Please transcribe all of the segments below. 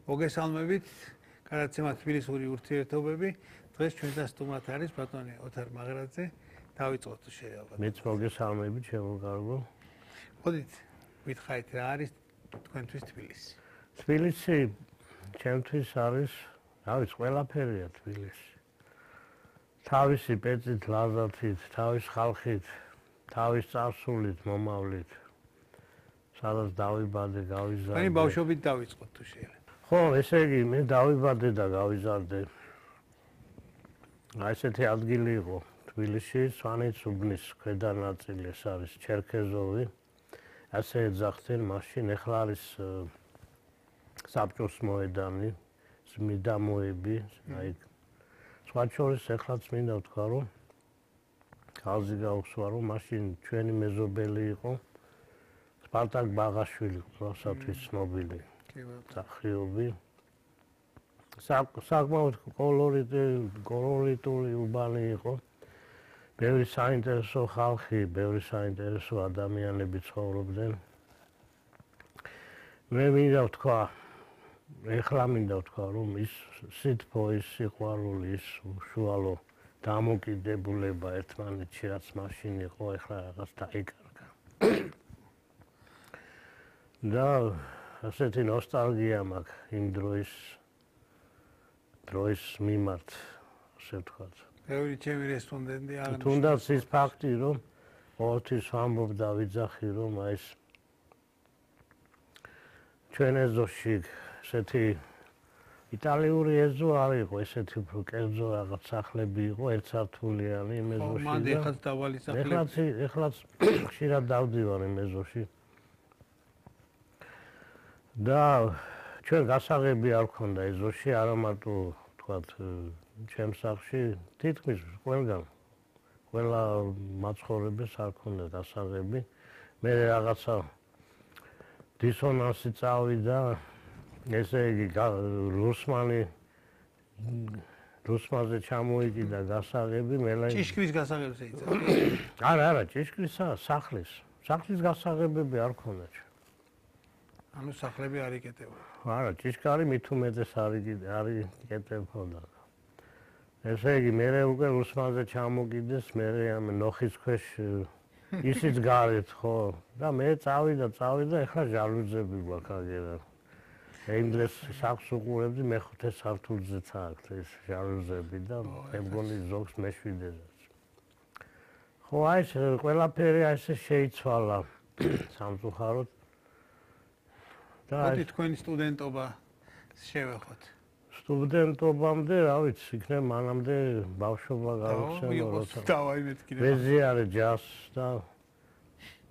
მოგესალმებით, გადაცემა თბილისური ურთიერთობები. დღეს ჩვენთან სტუმრად არის ბატონი ოთარ მაღრაძე. დავიწყოთ შეიძლება. მეც მოგესალმებით, ჩემო კარგო. მოდით, გითხარით რა არის თქვენთვის თბილისი? თბილისი ჩემთვის არის, რა ვიცი, ყველაფერია თბილისი. თავისი პეწით, ლაზათით, თავის ხალხით, თავის წარსულით, მომავლით. სადაც დავიბადე, გავიზარდე. მე ბავშვობით დავიწყოთ თუ შეიძლება. ხო, ესე იგი, მე დავიბადე და გავიზარდე. აი ესეთი ადგილი იყო თბილისში, სვანეთს-უბნის ქვედა ნაწილი, ეს არის ჩერქეზოვი. ასე ეძახდნენ მაშინ, ეხლა არის საბჭოს მოედანი, მიდამოები, აი სხვა შორის ეხლაც მინდა ვთქვა, რომ ხალხი გაუსვა, რომ მაშინ ჩვენი მეზობელი იყო სპარტაკ ბაღაშვილი, რუსეთის ცნობილი მსახიობი. საკმაოდ კოლორიტული უბანი იყო. ბევრი საინტერესო ხალხი, ბევრი საინტერესო ადამიანები ცხოვრობდნენ. მე მინდა ვთქვა, ეხლა მინდა ვთქვა, რომ ის სითბო, ის სიყვარული, ის უშუალო დამოკიდებულება ერთმანეთში, რაც მაშინ იყო, ეხლა რაღაც დაიკარგა. და ასეთი ნოსტალგია მაქვს იმ დროის მიმართ, ასე ვთქვათ. ბევრი ჩემი რესპონდენტი აღნიშნა. თუნდაც ის ფაქტი, რომ ყოველთვის ვამბობდა ვიძახი, რომ აი ეს ჩვენ ეზოში ესეთი იტალიური ეზო არ იყო, ესეთი უფრო კერძო რაღაც სახლები იყო, ერთსართულიანი იმ ეზოში. მანდა ეხლაც დაბალი სახლები. ეხლაც ხშირად დავდივარ იმ ეზოში. და ჩვენ გასაღები არ ქონდა ეზოში, არა მარტო ვთქვათ ჩემს სახლში, თითქმის ყველა მაცხოვრებელს არ ქონდა გასაღები. მე რაღაცა დისონანსი წავიდა, ესე იგი რუსმაზე ჩამოიკიდა გასაღები, ჭიშკრის გასაღებს ეძახა. არა, ჭიშკრისა, სახლის გასაღებები არ ქონდა. ანუ სახლები არ იკეტებოდა. არა, ჭიშკარი მით უმეტეს არ იკეტებოდა. ესე იგი, მე უკვე რუსმაზე ჩამოკიდეს, მე ამ ნოხის ქვეშ ისიც გარეთ, ხო? და მე წავიდა, ეხლა ჟალუზები გვაქვს აგერა. იმ დღეს სახლს უყურებდი, მეხუთე სართულზეც აქვს ეს ჟალუზები და მე მგონი ზოგს მეშვიდედაც. ხო, აი ეს ყველაფერი ესე შეიცვალა სამწუხაროდ. მოდი თქვენი სტუდენტობა შევეხოთ. სტუდენტობამდე, რა ვიცი, იქნებ მანამდე ბავშვობა გავიხსენო, როცა ვეზიარე ჯაზს და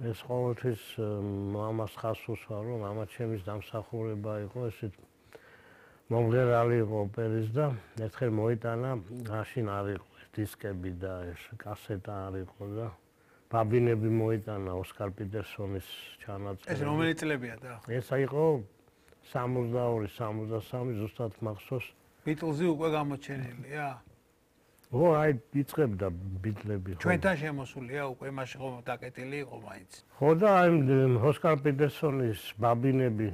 ეს ყოველთვის მამას ხაზს უსვა, რომ მამა ჩემის დამსახურება იყო, ესეთ მომღერალი იყო ოპერის და ერთხელ მოიტანა, მაშინ არ იყო დისკები და ეს კასეტა არ იყო და ბაბინები მოიტანა ოსკარ პიტერსონის ჩანაწერი. ეს რომელი წლებია და? ეს იყო 62-63 ზუსტად მახსოვს. ბიტლზი უკვე გამოჩენილია? ო, აი იწყებდა ბიტლები. ჩვენთან შემოსულია უკვე მაშინ ხომ დაკეტილი იყო მაინც. ხო და აი ოსკარ პიტერსონის ბაბინები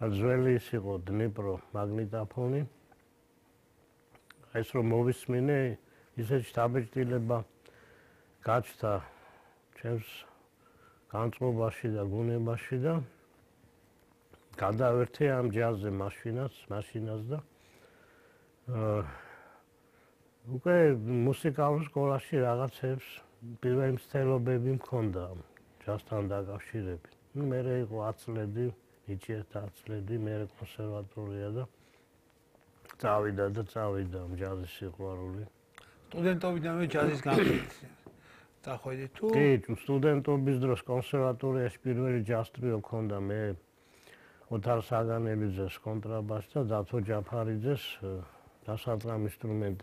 ძველი ის იყო დნიპრო მაგნიტოფონი. ეს რომ მოვისმინე, ისეთ შთაბეჭდილება გაჩნდა ჩემს განწყობაში და გონებაში და გადავერთე ამ ჯაზზე მაშინას და უკვე მუსიკალურ სკოლაში რაღაცებს პირველი მცდელობები მქონდა ჯაზთან დაკავშირებით. მე იყო 10 წლები, ნიჭიერთა 10 წლები, მე კონსერვატორია და წავიდა ჯაზის სიყვარული. სტუდენტობიდანვე ჯაზის განხილვის წახვედი თუ? კი, სტუდენტობის დროს კონსერვატორიაში პირველი ჯაზ ტრიო მქონდა მე ოთარ საგანელიძეს კონტრაბასს და დათო ჯაფარიძეს დასარტყამ ინსტრუმენტი